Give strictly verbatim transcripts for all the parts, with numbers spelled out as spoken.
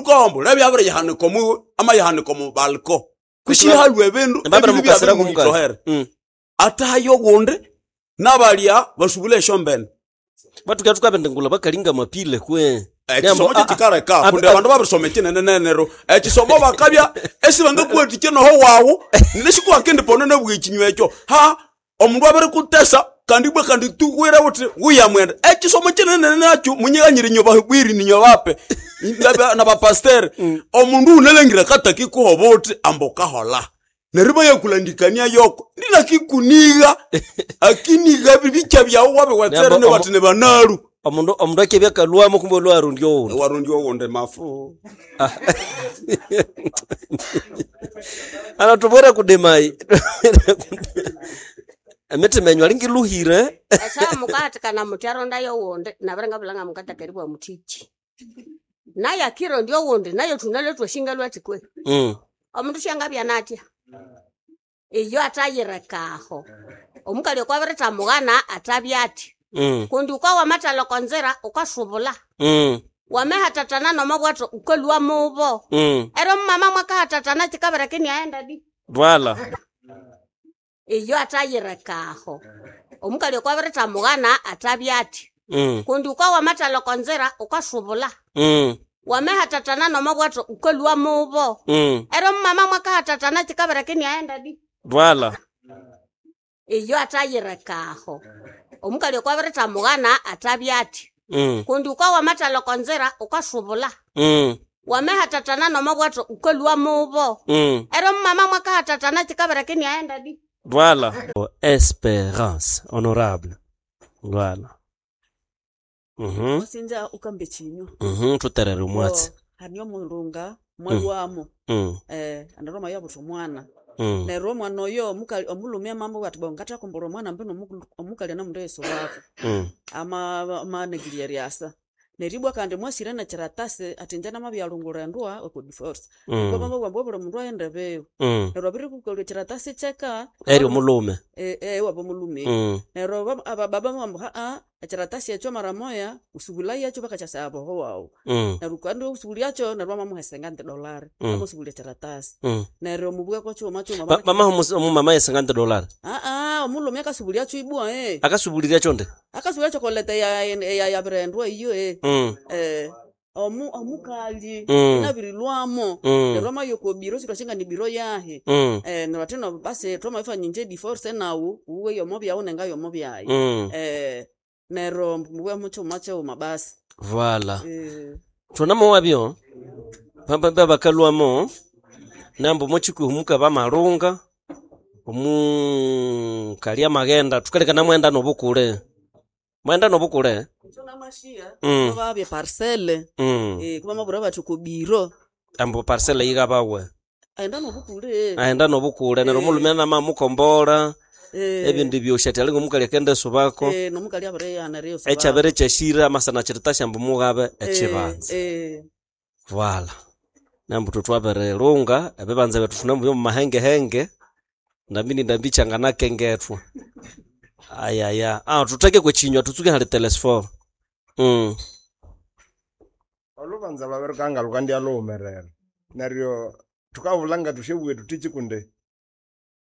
Omundu kawambu lebya abiriyihanika omu amayihanika omu balcon kwishi halwa ebindu Babiri ebindu mukasira kumukali. byabirimuhithohera Mm. atahayo ogundi nabalya basubule esyombene. Batuka tukabendengula bakalinga mapile kwe. Ekisomo Nembo, ah, ah, kyekikaleka ah, kundi ah, abandu babirisoma ekinenenene neryo ekisomo bakabya esibangakuwathikya noho wawu nesikuwakendiponene bwa ekinywa ekyo ha omundu abirikutesa kandi ibwa kandi tuwire wuthi wuya mwenda ekisomo kinene nakyo munyighanyire inywe bahubiri ninywe bape nabapastere omundu wunalhangira katakikuha obuthi ambu wukaholha neryo ibayakulandikania yoko ndinakikuniga akiniga bibikya byawu wabiwetsere Nembo, nebathi nibanalu. Omundu omundu akebya kalwamo kumbe olwarundi owundi. Warundi owundi mafu. Ana tubwere kudemai. Emitima enyu alingiluhire. Esa mukahatikana muthi arondayo owundi nabiringabulha ngamukataka eribugha muthiki. Naye akirondya owundi naye thunalwe thwashinga lwathi kwe. Mm. Omundu syangabya natya. Iyo athayirekaho. Omukali oko abirithamughana athabya athi. Mm. Kundi wuka wamathalha oko nzira wukasubulha. Mm. Wamahathathana nomobwatho wukalhwa mubo. Mm. Neryo omumama mwakahathathana kyikabireka iniaghenda di. Vala. Iyo athayirekaho. Omukali oko abirithamughana athabya athi. Mm. Kundi wuka wamathalha oko nzira wukasubulha. Mm. Wamahathathana nomobwatho wukalhwa mubo. Mm. Neryo omumama mwakahathathana kyikabireka iniaghenda di. Vala. Iyo athayirekaho. Omukali oko abirithamughana athabya athi. Mm. Kundi wuka wamathalha oko nzira wukasubulha. Mm. Wamahathathana nomobwatho wukalhwa mubo. Mm. Neryo omumama mwakahathathana kyikabireka iniaghenda di. Voilà. Espérance honorable. Voilà. Mhm. Wasinja ukambe chinywa. Mhm, tuterere omwatsi. Haniyo omulunga mwalwamo. Mm. Eh, andaroma yabutha omwana. Mm. Neryo omwana oyo omukali omulhume amamubwira athi bo ngathakumbura omwana mbino omukali anamundu Yesu wako. Mm. Ama amanagirya eryasa. Neryo ibwa kandi mwasire nekyiratasi athi inje namabyalhungulha endwa oko divorce. Mm. Bamabugha ambu obuli mundu aghende biwe. Mm. Neryo abirikukolha ekyiratasi kyeka Eryo omulhume. Eh, eh wabo omulhume. Mm. Neryo abababa bambu haa ekyiratasi ekyo mara moya usubulayekyo bakakyasaya boho wawu. Mm. Neryo kandi usubulyacho neryo bamamuha cinquante dolari. Mm. Amasubulya ekyiratasi. Mm. Neryo mubweko kyuma kyuma Ba- Bamaha omumama ye cinquante dolari. Aa omulhume akasubulyakyo ibwa eh. Akasubulirya nde? Akasubulyakyo koleta ya ya yabirendwa iyo eh. Mm. Eh omu omukali Mm. inabirilwamo. Mm. Neryo amayoko biro sitwashinga ni biro yahe. Mm. Eh neryo athi no basi twamabifanya inje divorce nawu uwe yomo byawu nenga yomo byayi. Mm. Eh neryo mubwe mukyuma kyuma basi. Voilà. Eh Thunamo wabyo. Pamba bakalwamo. Nambo mochikuhumuka bamalunga. Omu kalia magenda tukaleka namwenda nobukule. Mwenda nobukule. Mm. Babye parcelle. Mm. Eh kuba mabura bathu ko biro. Ambo parcelle yigabawe. Aenda nobukule. Aenda nobukule neryo Eh. omulhume namamukombola. Eh. Ebindi byosha alinga omukali akende subako. Eh nomukali abere yana reyo subako. Ekyabere kyashira amasana kyiritasha mbu mugabe Eh, ekibanza. Eh. Voilà. Nambu tutwaberelunga ebibanza bethu thunamubya mu mahengehenge. Ndambi ndambi kyanganakengetwa. Ayaya. Ah tutheke kwechinywa tutsuke hali telesfor. Mm. Olubanza lwabirikanga lukandya lhumerera. Neryo thukabulha thusyabugha thuthi kundi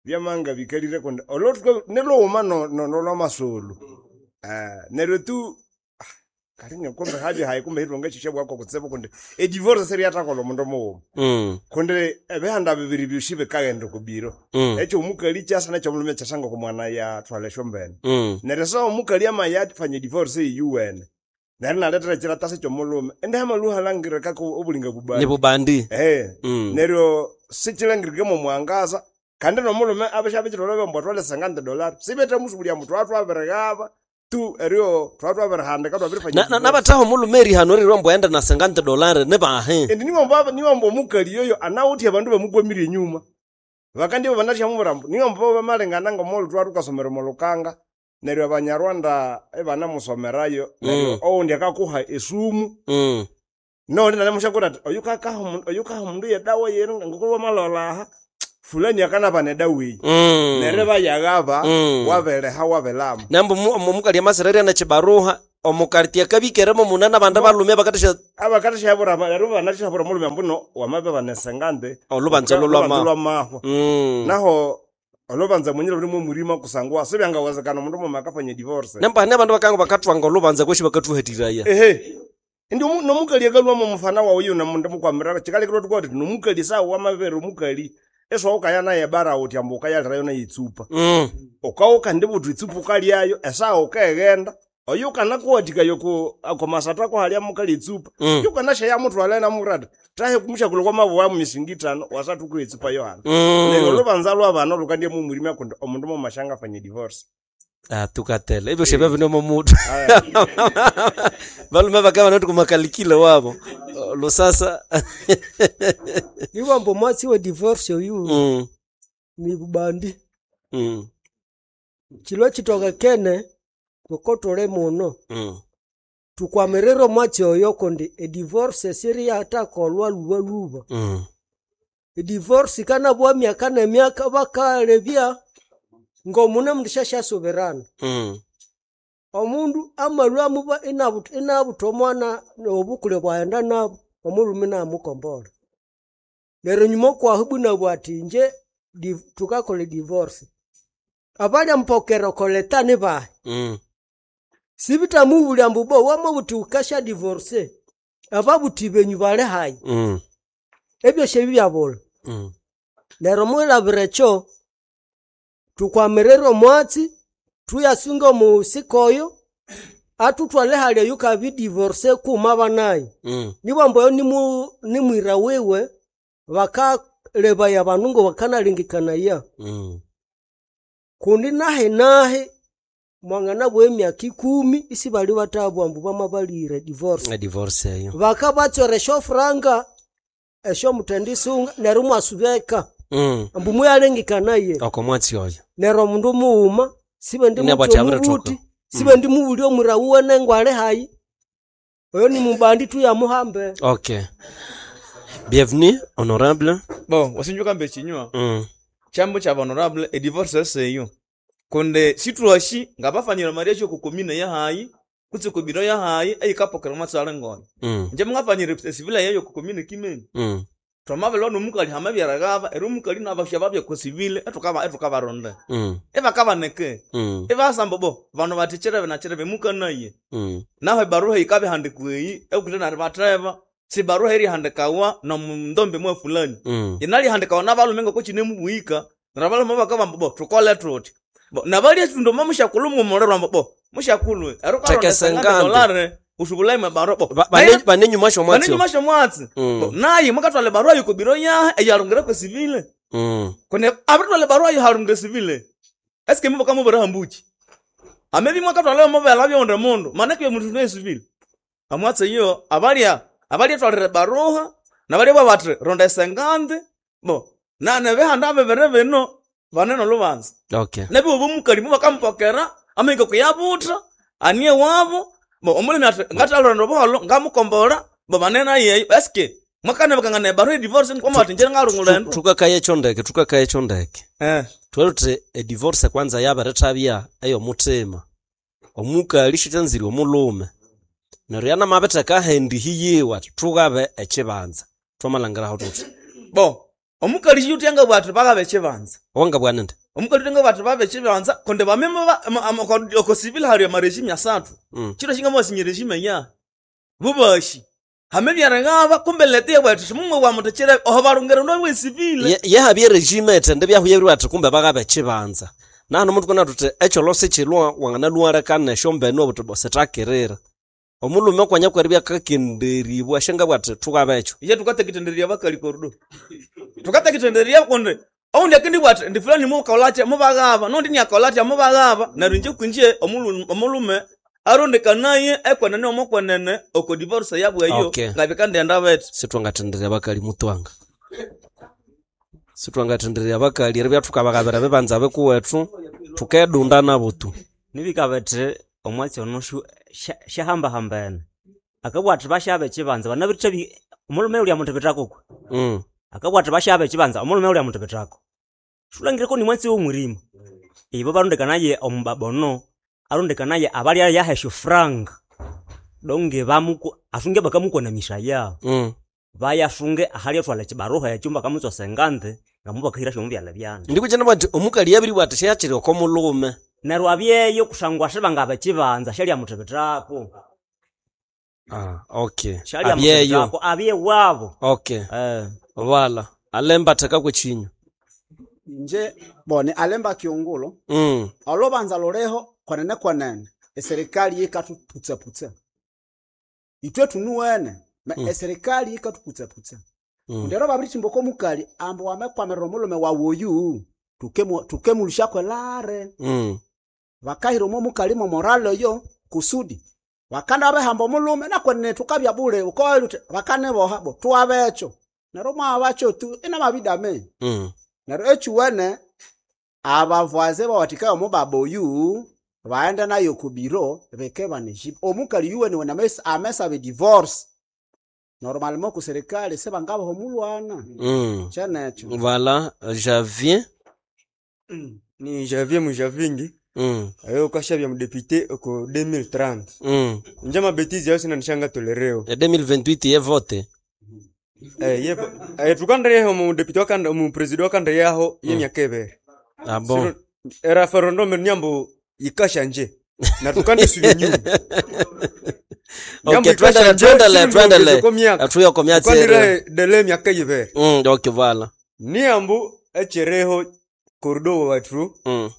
byamanga bikalire kundi olwo nilhughuma no no nolwamasulu. Eh neryo tu kalinga kumbe habya hayi kumbe ithwangasyabugha kutsibu kundi edivorce siryathakolha omundu mughuma. Mm. Kundi ebihanda bibiri byosi bikaghenda oko biro. Mm. Ekyo omukali kyasa nekyomulhume kyasa ngoko omwana yathwalha esyombene. Mm. Neryo so omukali amayafanya edivorce eyuwene. Neryo inalethera ekyiratasi kyomulhume. Indi hamaluha alangirikako obulinga bubandi. Ni bubandi. Eh. Mm. Neryo sikyilangirike momwangaza kandi nomulhume abishabikithwalha ambu athwale cinquante dolari. Sibethamusubulya ambu thwatwabirighaba tu eryo thwatwabirihandika thwabirifanya Na na nabathaho omulhume erihano erirwa ambu aghende na cinquante dolari nibahe. Indi niwamba niwamba omukali yoyo anawithe abandu bamukwamire enyuma. Bakandibya banathyamubwira ambu niwamba bamalengana ngomulhu thwathukasomera omolukanga neryo abanyarwanda ibanamusomerayo neryo Mm. owundi akakuha esumu. Mm. Nowundi inanemusyakura athi oyukakaha omundu oyukaha omundu yedawa yenu ngoko wamalholha aha fulani akanabana edawa eyi. Mm. Neryo ibayaghaba Mm. wabiriha wabilama. Nambu omukali amasirerya nekibaruha Omukartie kabikeremo munene abandu balume bakatasha abakatashabura rero banashabura mulume mbuno wamabe banesengande olubanza lolwama lwamahwa Mm. naho olubanza mwenyere luri mumurima kusangwa sibyangawezekana omundu muma akafanya divorce nembane abandu bakanga bakatwanga olubanza kweshi bakathuhatiraya ehe indi omu- nomukali akalwamo omufana wawu yuna mundu mukwamira chikalekirwa tukoti nomukali sawu wamabere omukali eswawukaya naye bara uti ambu ukayalirayo naye itsupa Mm. ukawuka ndibuthi itsupa ukalyayo esaha ukaghenda oyo ukanakuwathikayo ku akomasathu ako halya mukali itsupa Mm. yukanasheya muthwala namurata tahe kumushakulu kwamabuwa misingi itano wasathu ku itsupa yohana neryo Mm. olubanza lwabana lukandya mumurima kundi omundu mumashanga afanye divorce Ah, tukatele ebyo shebya bino mumutu balume bakaba noti kumakalikile wabo lusasa Iwambo mwatsi we divorce oyu Mm. ni bubandi Mm. chilo chitoka kene kukotole muno Mm. tukwamirire mwatsi oyo kundi edivorce siri yatakolwa luba luba Mm. edivorce kanabwa myaka nemyaka bakalebya ngomune mundu shashasubirana Mm. omundu amalwa muba inabuta inabuta omwana obukule bwaghenda nabo omulhume inamukombolha neryo nyuma okwahu bwinabwa athi inje di- tukakolha edivorce abalyamupokera okoleta nibahi Mm. sibitamubulya ambu bo wamabuthi wukasya divorce ababuthi benyu bali hayi Mm. ebyosi ebi byabulha Mm. neryo mwilabira ekyo tukwamirire omwatsi thuyasunga omusika oyo athuthwale hali eyo kabi divorce kuma banayo Mm. nibwambu oyo nimu- nimwira wiwe bakalebaya abandu ngo bakanalengekanaya Mm. kundi nahi nahi mwanganabwa emyaka ikumi isibali bathabwa ambu bamabalire divorce A divorce eyo bakabatswera esyofuranga esyomutendisunga neryo mwasubeka Mm. ambu muyalengekanaye oko mwatsi oyo neryo omundu mughuma sibe Inabwa ati abirithoka. ndimubuti sibe ndimubulya omwira wuwe nengo ali hayi oyo nimubandi tuyamuhambe Okay. Bienvenue, honorable. Bon, wasinjuka mbe chinywa. Mm. Chambo cha honorable e divorce eseyo. Konde situashi ngabafanyira maria choko komine ya hayi, kutse kubiro ya hayi eyikapokera matsale ngona. Mm. Nje mungafanyira esivila yeyo ku komine kimeni. Mm. Twamabelwa nomukali hamabyaragaba, era omukali nabasha babya ku sivile etukaba etukabaronda. Mm. Ebakabaneke. Mm. Ebasamba bo, bano batichere nachere mukanaye. Mm. Naho ebaruha ikabihandikwa eyi ekuthe nari batheba sibaruha erihandikawa nomundombe mwa fulani Mm. inalihandikawa nabalume ngoko kinemubuhika neryo abalume bakabamba bo tukole thuthi bo nabalya ekindu omo mushakulhu mumulirwa ambu bo mushakulhu Tekesengande. dolare usubulaime barua bo Ba- bane- banenyuma shomwatsi. banenyuma shomwatsi Mm. bo naye mwakatwala ebarua yokobiro yahe eyalungire kwesivile Mm. kone abiritwala ebarua yihalungire sivile eske mubakamubira hambuki amebi mwakatwala mubela byonde mundu manake mundu nesivile amwatsi iyo abalya abalya twalire baruha nabalya babatri ronda esengande bo na nebihanda bibiri bino banene olubanza Okay. nebiwe bomukali mubakamupokera amahika kuyabutha anie wabo bo omulimi ati ngathalonda obuholo ngamukombola bo banene ayeyo eske mwakanebekangana ebaruha edivorce nkwamati nje ngalungula endo Tukakaye chondeke, tukakaye chondeke. eh Twelute e divorce kwanza yabirithabya eyomuthima. Omukali shithanzire omulume. Neryo yanamabitheka ahendi hiyiwe ati thukabe ekibanza. Twamalangiraho thuthi. bo omukali shiyuthenga bwati bakabe ekibanza Wangabwana nde? omukali uthenga bwati babe ekibanza kundi bameme okosivile hali amarejime asathu Mm. chiro shingamasinya regime ya bubashi hamebyarengaba kumbe lete bwati simumwe wamuthekere oho barungere ndo wesivile Ye- yehabya regime ethende byahuya ati kumbe bakabe ekibanza. Nahano omundu kona thuthi ekyolosi kilwa wanganaluwarekana esyombene obuthi bo sithakirira. Omulhume okwanya kweribya akakenderibwa syangabwa athi thukabe ekyo. iye tukatekitenderia bakali korudo tukatekitenderia kundi oundi akindi bwati ndi fulani mukaulache mubaghaba nondi niakaulache mubaghaba neryo inje kwinje omulu- omulume arondekanaye ekwenene omokwenene oko divorce yabweyo Okay. ngabikandenda bethi Sithwangathendererya bakali mutwanga. Sithwangathendererya bakali eribya thukabaghabira ebibanza bikuwethu thukedunda nabo tu. nibikabethe omwatsi ono shu- sha- shahambahambene akabwatha bashabe ekibanza banabithabi omulume ulya muthibithako Mm. akabwatha bashabe ekibanza omulume ulya muthibithako shulangireko ni mwatsi womwirima ibo barondekanaye omubabono arondekanaye abalya yaha esyofuranga Donge bamuku asunge bakamukwanamisha ya. Mm. Bayasunge ahali atwala ekibaruha ekyo bakamutswa sengante ngamubakahira syo mubyala byana. Ndikukyana bwati omukali yabiri bwati syachiri oko mulume. Neryo abyeyo kusangwa sibangaba ekibanza syalya muthibithako. Ah, okay. Syalya Abyeyo. muthibithako abye wabo. Okay. Eh. Wala. Alemba theka kwechinyu. Nje bone alemba kiungulo Mm. olubanza luliho kwenene kwenene eserikali yikathuputsaputsa itwe tunuwene me Mm. eserikali yikathuputsaputsa Mm. kundi ero babirithimba oko mukali ambu wamekwamirira omulume wawu oyu tukemu- tukemulushaku elare Mm. bakahira omo mukali momorale oyo kusudi bakanda babehamba omulume nakwenene tukabya bule ukowaluthi uthi bakaniboha bo tuwabekyo neryo mwabakyo tu inamabidame Mm. neryo ekyuwene abavaze bawathikayo omubaba oyu baghenda nayo kubiro bike banejibu omukali yuwene wene amesa- amesaba edivorce normalement ku serikali sibangabaha omulwana Mm. kyenekyo Voilà, Javier. Ni Javier Mujavingi. Mm. Ayo kashabya mudepite oko deux mille trente. Mm. Nje mabetizi ayo sinanishanga tolereo. E deux mille vingt-huit ye vote. Eh ye eh tukandre yaho mu deputy wakanda mu president wakandre yaho ye Mm. myaka ebere. Ah bon. Siro- Era referendum nyambo ikasha nje. Na tukande subi nyuma. Okay, twendele twendele twendele. Atuya kwa myatsi. Tukandre dele myaka ebere. Mm, okay, voilà. Niambo echereho corridor watu. Mm.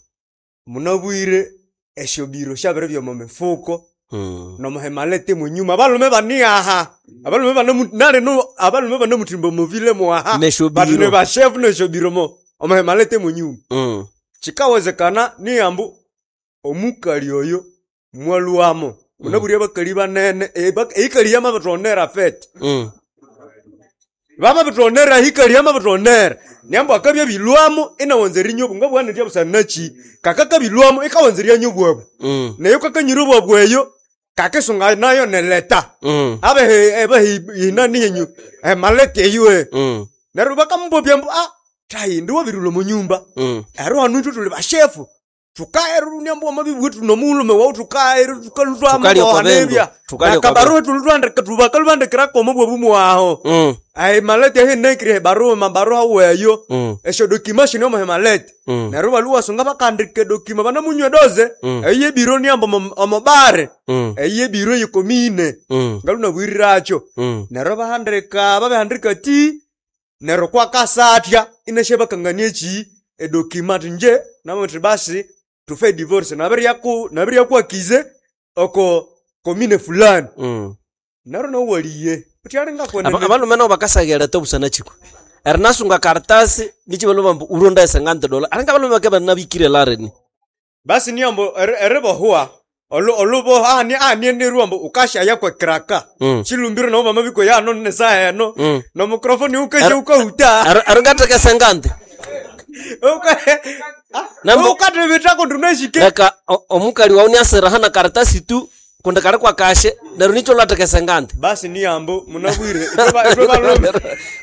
Munabwire eshobiro shabere byo mu mifuko. Mm. Nomuhemalete munyuma abalume baniaha abalume bane nale no abalume bane mutimbo muvile mwaha Neshobiro. batune bashefu neshobiro mo omuhemalete munyuma Mm. chikawezekana niyambu omukali oyo mwaluamo munabwire abakali banene eikali yamabitonera fete Mm. bamabitonera hikali yamabitonera niyambu akabya bilwamo inawanza erinyobu ngabwanetya busanachi kakakabilwamo ikawanza eryanyobwabu Mm. neyo kakanyira obwabu eyo kakisunga nayo neleta Mm. abehe abehe inani yenyu emalete eyo Mm. neryo bakamubobya mbu ah tayi ndiwabirula munyumba Mm. ero hanu itwe tuli bashefu tukaeru nyambu amabibwe tunomuulume wawu tukaeru Tukalya kwa bendu. Tukalya kwa tukalutwakabaruhe tulutwandika tubakalubandikirako omubwabu mwaho Mm. ai malete ahenekire baruha mabaruha weyo Mm. esyo dokima shino omuhemalete Mm. neryo baluwasunga bakandika edokima banamunywa edoze Mm. eyo ebiro niamba omu- omubare Mm. eyo ebiro yekomine Mm. ngalunabwiriracho Mm. neryo bahandika babihandika ti neryo kwakasatya ineshe bakangania eki edokima ati nje namuthi basi tufe divorce nabiryaku nabiryakuakize oko komine fulani Mm. neryo nowaliye utyalinga Aba- kwenene abalume nabo bakasagereta obusana chikwe erinasunga karatasi nichibaloma mbu uronda esengante dola alinga abalume bake banabikire lareni basi niambo eribohwa olu oluboha ani ani mbu ukashaya kwa kraka Mm. chilumbiro nabo bamabiko yano nesaha eno Mm. no microphone ukaje ukahuta aringateka sengante Nambo- ukatebetako ndunashike leka o- omukali wawu niasiraha na karatasi tu kundi kali kwa kashe neryo nicho lwatheka esengante basi niambo munabwire itwe ba- itwe balume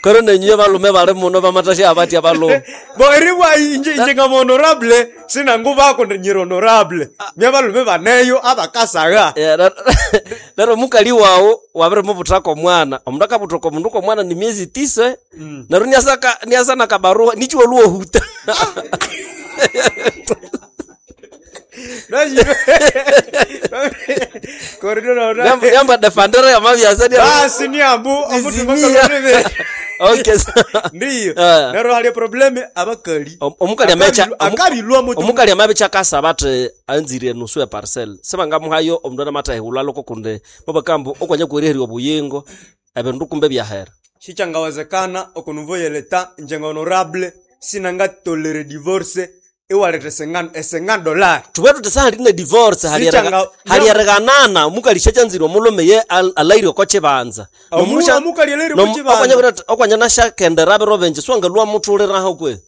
kero nenyuye balume bali muno bamatasha abatya balume bo eribwa inje inje ngama honorable sinangubako nyiri honorable mya balume baneyo abakasaga Eh, ner- neryo omukali wawu wabirimubuthako omwana omundu akabuthoka omundu komwana ni miezi tisa neryo niasaka niasa na kabaruha nichi waluwahuta Corridor yamba defandera yamabyasa basi niambo omutu Nizimia. bakalonebe okay sa- ndiyo Eh. neryo hali probleme abakali Om- omukali amecha Akabilwa- akabilwa mutu omukali amabicha akasaba athi anzire enusu ya parcel sibangamuhayo omundu anamatahihulha loko kundi mubakambu okwanya kweriherya obuyingo ebindu kumbe byahera shichangawezekana okunuvo yeleta njenga honorable sinangatolere divorce iwaleta esenga esenga dollar thubwe thuthi sahalina divorce Sichanga- haliereganana omukali syachanzire omulhume ye al- alaire oko kibanza Omu- omukali alaire oko kibanza. okwanya nasyakendera biro bingi siwangalwa muthuliraho kwe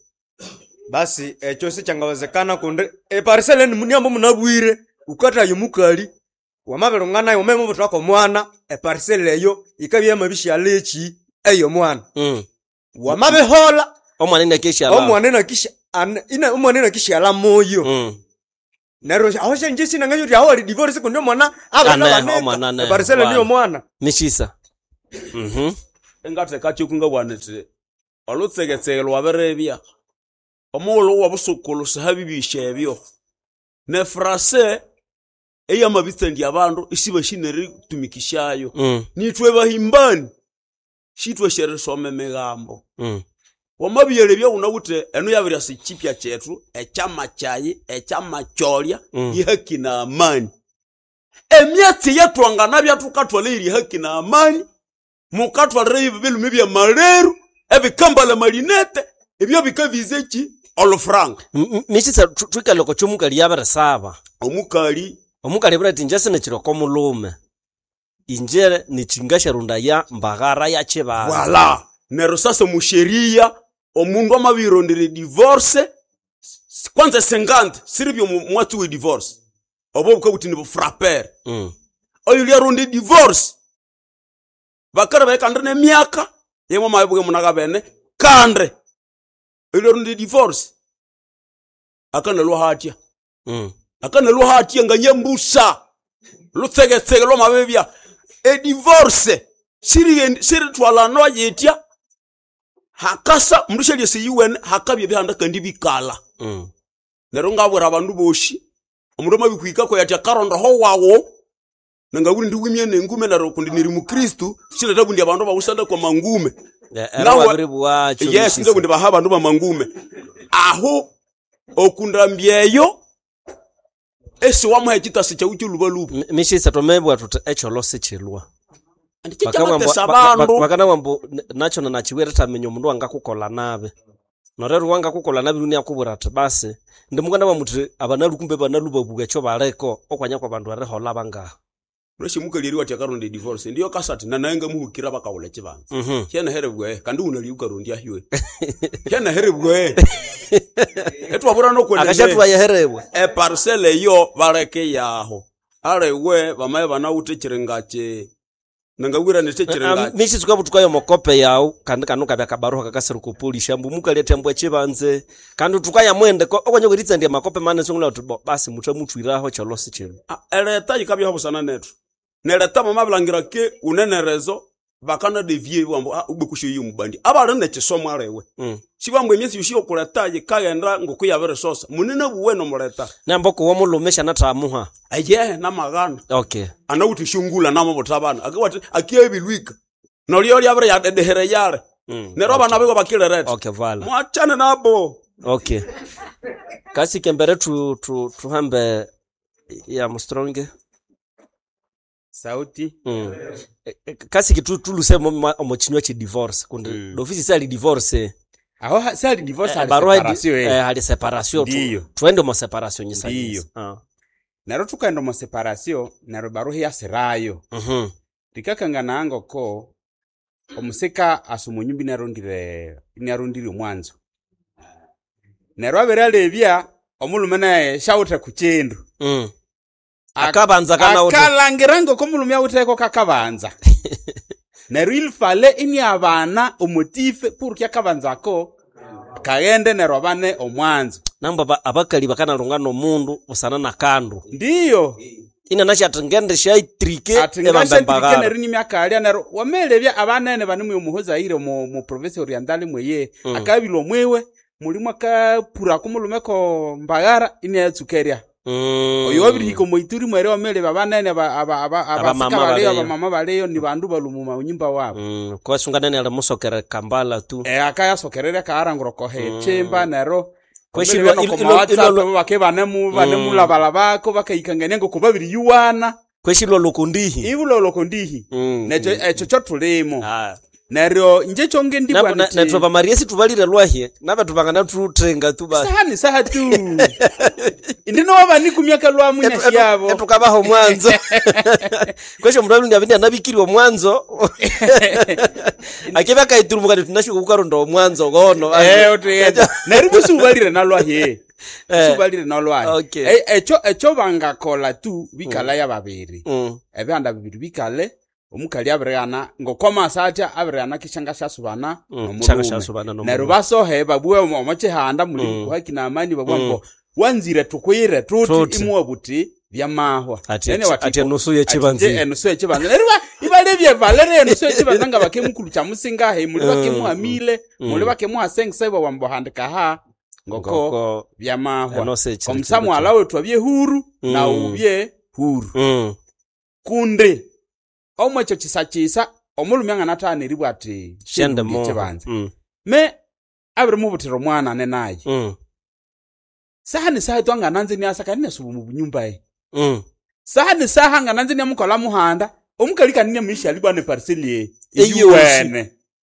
basi ekyo sichangawezekana kundi eparisele niambo munabwire ukatayo mukali wamabirunganayo wamemubutwako omwana eparisele eyo ikabya yamabishyala eki eyo mwana Mm. wamabihola omwana inakeshyala omwana inakisha ana- ina- omwana inakishyala moyo Mm. Neryo aho shenje sinanganywa uthi aho ali divorce kundi omwana Aneho, abana omwana aneho, eparisela niyo voilà. mwana. Mishisa. Mhm. Engatheka kyo bwana nti olutsegetsege lwabirebya omughulhu wobusukulu sihabibisha ebyo nefrase eyamabitsandya abandu isibashineeritumikishayo. Mm. Nithwe bahimbani shithwasyerisoma emigambo. Mm. Wamabiyalebya wunawithe eno yabiryasa ekyipya kyethu ekyama kyayi ekyama kyolya. Mm. Ihaki na amani emyatsi eyatwanganabya thukathwala eyiri haki na amani mukathwalira ebilume byamaleru ebikambala malinete ebyo bikabiza eki olufuranga. M- m- Mishisa thu- thwikalhe oko kyomukali yabirisaba. Omukali omukali abwira athi inje sinikiri mulume inje nichingasharundaya mbaghara ya chibanza. Voila neryo sasa musheria omundu amabirondera divorce s- kwanza sengante siribyo mwatsi we divorce obo bukabuthi ni bufrapere. Mm. Oyo lyaronda divorce bakara baikande nemyaka yemwe mabibuke munakabene kande oyo lyaronda divorce akanalwa hatya. Mm. Akanalwa hatya nganyambusa lutsegetsege lwamabibya edivorce siri siritwalanwa yitya hakasa mundu syalyasa yiwene hakabya ebihanda kandi bikala. Mm. Neryo ngabwira abandu bosi omundu amabihwikako yatya akarondaho wawo nangaburi ndiwimye nengume neryo kundi niri mukristu siletha bundi abandu bawusanda kwa mangume. Eh, ero Nawe- wabiribwacho, yes Mishisa. nze kundi baha abandu bamangume aho okundambyeyo esi wamuha ekitasi kyawu kyolubaluba. M- Mishisa twamebwa thuthi ekyolo sikyilwa. Kikyamatesa abandu. Bakana mbu nacho nachiwere tamenya omundu wangakukola nabi norero wangakukola nabi luni akubwira ati basi ndimukana bamuthi abanalu kumbe banalu babuga ekyo baliko okwanya kwa bandu erihola bangaha. Lweshimukaliri wati akaronda divorce ndiyo kasati nanaye ngamuhukira bakawula ekibanza. Mhm. Hyanaherebwe kandi unali ukarondya hywe hyanaherebwe etwabura nokwenda Akashatwa yaherebwe eparcel eyo baleke yaho aliwe bamaye banawuthe ekiringa kye nangawira nithe ekiringa. Mishisa tukabutukayo mokope yawu kandi kanu kabya kabaruha kakasira kupolisha mbu mukali athi ambwa ekibanze kandi tukayamwende okwanya kweritsandia makope mane songula uthi bo basi mutha muthwiraho kyolo sikyilwa. Ah, eleta yikabyaho busana nethu neleta mamabilangira ke unenerezo bakana devie bwambo ah, ubekusho iyo mubandi abali nekisomo aliwe. Mm. Sibambu emyesi yosi yokuleta yikaghenda ngokuyabirisosa munene buwe nomuleta. Namba kuwa mulume shanathamuha aye namaghana. Okay. Anawuthi shungula namabutha akiwati akiyebilwika nolyo lyabiri yadedehere yale. Mm. Neryo abana biko bakilireta. Okay, vala. Mwachane nabo. Okay. Kasi kembere tu tu tuhambe ya mustronge. Sauti. Mm. E- e, Kasi kitu tuluse omo chinywa chi divorce kundi mm. Dofisi sali divorce. Aho ha- sali divorce hali barua di- separation, eh. eh, hali separation tu. Ndiyo. Twende mo separation nyisa. Ndiyo. Ah. Neryo tukaenda omo separation neryo baruha yasirayo. Mhm. Likakangana ngoko omusika asa omunyumba inarondire inarondire omwanzo. Neryo abere alebya omulume naye shawuthe ku kindu. Mm. Akabanza kana wuthi. Akalangira ngoko omulume awutheko kakabanza. Neryo ilifale iniabana omotife purki akabanzako kaghende neryo abane omwanzo. Namba ba, abakali bakanalunga nomundu busana na kandu. Ndiyo. Ina nasha ati ngende shaitrike ati ebambe ngashatirike mbagara. neryo nimyakalya neryo wamelebya abanene banemwe omuhozaire mu mu province orientale mweye. Mm. Akabilwa mwiwe mulimu akapurako mulume ko mbagara inayatsukerya. Mm. Oyo wabirihika omoituri mwere wamelebya abanene aba- aba- aba- Abamama abasika baleyo baleyo. abamama baleyo ni bandu balumuma unyumba wabo. Mm. Kwasunganene ali musokere kambala tu. Eh, akayasokererya kaarangura kohe Mm. chimba neryo Kweshilwa Kweshilwa ilo- no ilo- WhatsApp ilo- bake banemu banemulabalabako bakayikangania ngoko babiriyuwana. Kweshilwa lokondihi. Ibulo lokondihi. Mm. Nekyo ekyo kyo tulimo. Ah. Neryo nje kyonge ndibwa Napo nti nethu bamariesi situbalire lwahye nabe tubangana tuthenga tu ba saha ni saha tu. Indino wabanikumyaka lwamu Etu- nyashi etu- yabo. etukabaha omwanzo kwesho omundu alundi abindi anabikirwe omwanzo akibya akaiturumuka tunashuka kukaronda omwanzo gono. Eh, utuyenda. Neryo busubalire nalwahye. Eh. Busubalire nalwahye. Okay. E- Ekyo ekyo bangakola tu bikala ya babiri. Mm. Ebihanda bibiri bikale omukali abirighana ngokwamasa atya abirighana kishanga syasubana Mm, nomulume. shanga syasubana nomulume. Neryo basohe babue omo omo kihanda muli Mm. kuhaki na amani babua Mm. ngo Wanzire tukwire tuti Tuti. imuwa buti byamahwa. Ati- Nene wati- ati enusu y'ekibanza. Ati enusu y'ekibanza. Neryo iba- ibalebye valere enusu y'ekibanza nga bakemukulu kyamusingahe muli bakemuhamile Mm. muli bakemuha sengisa ibo wambohandika ha ngoko Ngoko byamahwa. enosi ekiri Omusa kindu mwala wetu abye huru Mm. na ubye huru. Mm. Kundi omwekyo kisa kisa omulume anganathana eribwa ati Shende "Shendulya moho." ekibanza. Mm. Me abirimubutira omwana ane naye. Mm. Saha ni saha twangananze niasa kandi nesuba mu bunyumba ye. Mm. Saha ni saha ngananze niamukola muhanda omukali kandi niamuisha alibwa ne parcel ye. Eyiwe. Eyiwene.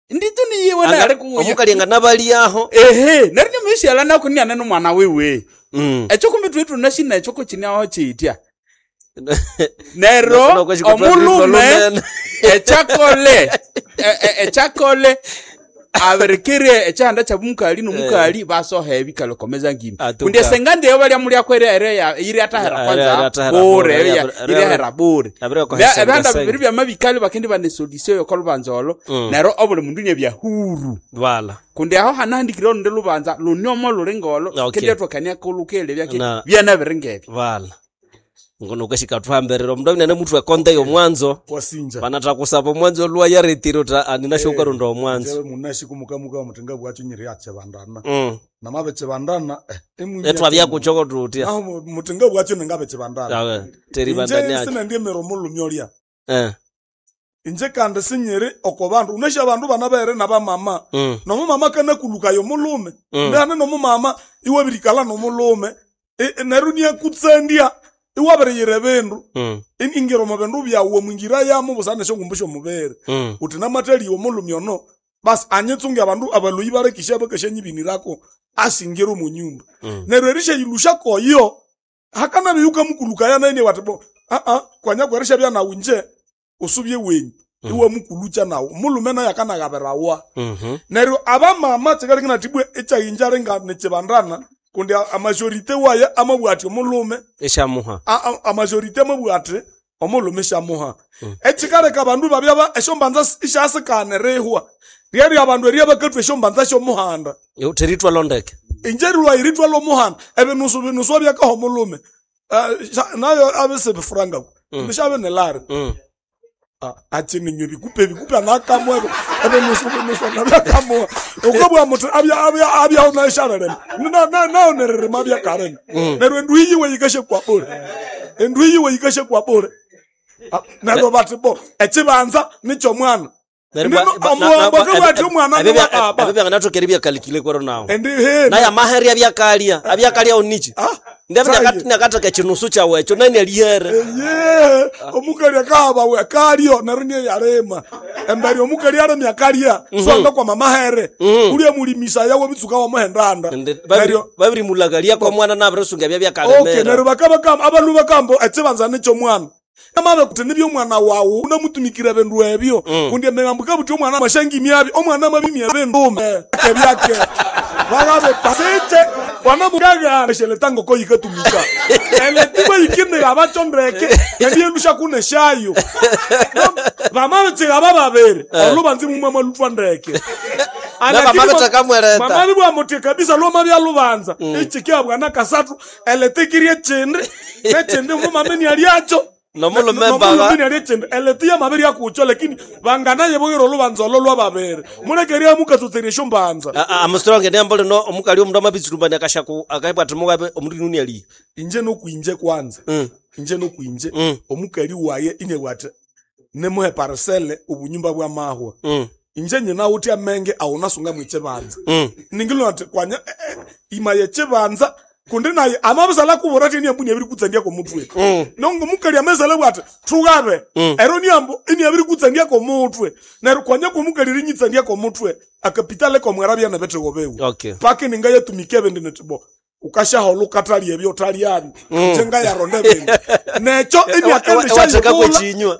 Nditu niyiwe Anga- nali kuya. omukali nga nabaliaho. Ehe, neri niamuisha ala nako niane nomwana wiwe. Mm. Ekyo kumbi thuwe thunashina ekyo kukiniaho kyitya. Nero No, no, omulume ekyakole e- e- ekyakole abirikire ekyihanda kyabumukali nomukali basoha ebikalo komeza ngima Atuka. kundi esengandi eyo balya mulya kweri iri atahera kwanza bure iri ahera bure Bya- ebihanda bibiri byamabikali bakindi banesodisio yokolubanza olo Mm. nero obuli mundu nyebya huru Wala. kundi aho hanahandikire olundi lubanza luniomo luli ngolo Okay. kendi atwakania kulukele byake Na- byanabiri Wala. Ngono kweshika thuhambirira omundu abinene muthu ekonde y'omwanzo. Wasinja. Banathakusaba omwanzo lwa yaretire uthi anina ukarunda omwanzo. Njebe munashi kumukamuka mutinga bwacho nyiri yachebandana. Mm. Namabe chebandana eh emwimya Etwabyakuchoko tutya. Naho mu- mutinga bwacho ningabe chebandana. Awe, teribandani Inje acho. sinandiemera omulumi olya. Eh. Inje kandi sinyiri oko bandu unesha abandu banabere nabamama. Mm. Nomumama kanakulukayo omulume. Mm. Ndihane nomumama iwabirikala nomulume. E- e, Neryo niakutsandia iwabiriyira ebindu. Mm. In- Ingira omu bindu byawu omwingira yamu busana esyongumbu syomubiri. Mm. Uthi namathaliya omulumi ono basi anyitsunge abandu abaloyi balekisya bakasyanyibinirako asingira omu nyumba. Mm. Neryo erisyayilusya koyo hakanabya yukamukulukaya naye wati bo aa kwanya kwerishabya nawu nje usubye wenyu iwamukulukya nawu omulume naye akanagabirawa. Mhm. Neryo abamama kyikaleka nathibwe ekyayinja linga nikyibandana kundi a- amajorite waye amabugha athi omulume Esyamuha. a- a- amajorite amabugha athi omulume syamuha. Ekyikaleka abandu babya ba- esyombanza isyasikana erihwa ryerya abandu erya bakathwa esyombanza syomuhanda. Yo teritwa londeke. Inje rilwa lwomuhanda ebinusu binusu abyakaha omulume Eh, sha- nayo abisibifurangako Mm. nishabe nelari Mm. achininywe bikupe bikupe anakamwe ebinusu binusu anakamwe ukabwa muthi abya abya abya naisharerema nayo nererema abyakarema Mm. neryo endu yiwe yikashe kwabure endu yiwe yikashe kwabure Ah, neryo bati bo ekibanza nikyomwana omuwambo akabwati omwana Ebyo niwa baba byanganathoka eribya kwero nawo. Endi he Naye amaheri abyakalia, abyakalia onichi. Saye. Ndabya ekinusu kyawu ekyo nani alihere. Ye, omukali akahabawe akalyo neryo niye yalima embere omukali alemya akalya Mhm. swanga kwama mahere ulya mulimisa yawe bitsuka wamuhendanda Babiri babirimulakalia kwa mwana nabirisunga ebya okay byakalemera. neryo bakabakamba abalu bakambo ekibanza nikyomwana amabe kuti nibyomwana wawu unamutumikira ebindu ebyo kundi emigambo kabuti omwana mashangimi abi omwana mabimya ebindu byake byake bakabe pasite wanamugagana sheletango ko yikatumika eletiba yikindira abachondeke kandi yelusha kuneshayo vamabitsika bababiri olubanzi mumwe malutwa ndeke Nabamabitsakamwereta. mamali bwamuti kabisa loma byalubanza ichikia bwana kasatu eletikirie chindi nechindi mumameni aliacho Nomulume nomulume baba. ali chindi eletiya mabiri akucho lakini banganaye bogera olubanza olo lwababiri mulekeria mukatsotseria shombanza Amusitronge nembo lino omukali omundu amabitsurumbania akashaku akabwa ati mugabe omundu nuni ali. Inje nokwinje kwanza inje nokwinje omukali waye inye bwati nemuhe parcele obunyumba bwa mahwa inje nyina uthi amenge awunasunga mwichibanza ningilo ati kwanya eh, eh, ima yechibanza kundi naye amabisala kubura ati niambu niabiri kutsandia komutwe nongo mukali amezala bwati thugabe ero niambu iniabiri kutsandia komutwe neryo kwanya komukali rinyitsandia komutwe akapitale komwera byana betego bewu Okay. paki ningayatumika ebindi nitibo ukashahola ukathalya ebyo uthalyani Mm. nje ngayaronda ebindi necho Ewa- ewatheka kwechinywa.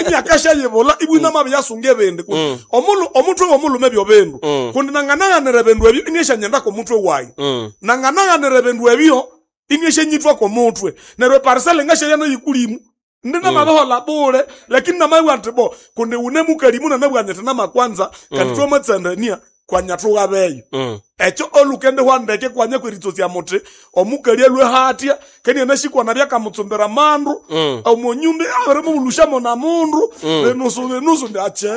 imyakashayibula ibwina mabi yasunga ebindi Kundi omulu omutwe womulume ebyo bindu kundi nanganaghanira ebindu ebyo inieshanyenda komutwe wayi nanganaghanira ebindu ebyo inieshanyithwa komutwe neryo eparisele ngashayana yikulimu ndinamabihola bule lakini namabwa nti bo kundi une mukalimu nanabwa niti namakwanza kandi Mm. twamatsandania kwanyathugabeyo ekyo olukende hwandeke kwanya kweritsosya muthi omukali alwe hatya keni anashikwana byakamutsumbira mandu Mm. omonyumba abirimubulusha na mundu Mm. binusu binusu ndi ache